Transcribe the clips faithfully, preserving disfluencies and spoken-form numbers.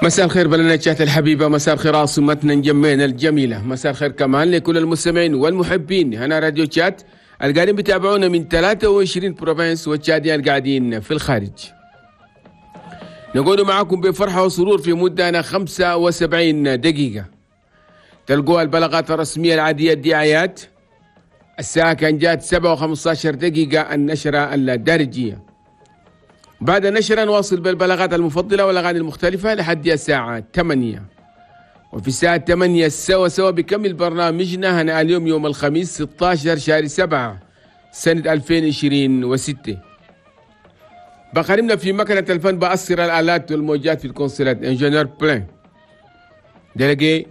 مساء الخير بلدنا تشاد الحبيبة، مساء الخير عاصمتنا نجمينا الجميلة، مساء الخير كمان لكل المستمعين والمحبين هنا راديو تشاد القاعدين بيتابعونا من ثلاثة وعشرين provinces والتشاديين القاعدين في الخارج. نقول معكم بفرحة وسرور في مدة خمسة وسبعين دقيقة. تلقوها البلاغات الرسمية العادية الدعايات. الساعة كان جات سبعة وخمسة عشر دقيقة النشرة الدارجية. بعد النشرة نواصل بالبلاغات المفضلة والأغاني المختلفة لحد الساعة ثمانية. وفي الساعة ثمانية سوا سوا بكمل برنامجنا هنا اليوم يوم الخميس ستة عشر شهر سبعة سنة ألفين وعشرين وستة. بقارمنا في مكنة الفن بأسر الآلات والموجات في الكونسولات ingénieur بلان délégué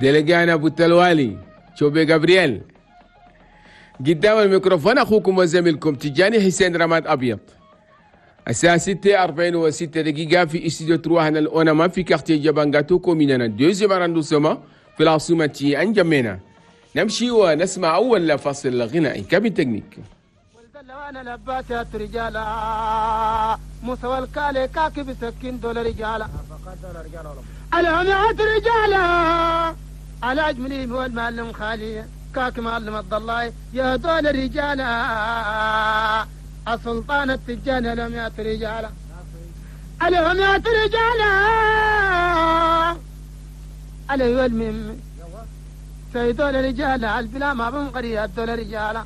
délégué أنا أبو التلوالي شوبي جابرييل. قدام الميكروفون أخوكم وزميلكم تجاني حسين رماد أبيض. الساعة ستة أربعين وستة دقيقة في استوديو trois هنا الأونما في quartier جبانغاتو commune deuxième arrondissement في العاصمة أنجمينا. نمشي ونسمع أول فاصل غنائي cabine technique. وانا لباتات رجالا موسى والكالي كاكي بسكين دول رجالا العمات رجالا على أجملهم هو المعلم خالي كاكي معلم الضلاي يا دول رجالا السلطان التجاني العمات رجالا العمات رجالا علي والمم سيدول رجالا البلا ما بنقري الدول رجالا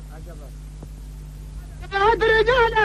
رجالا.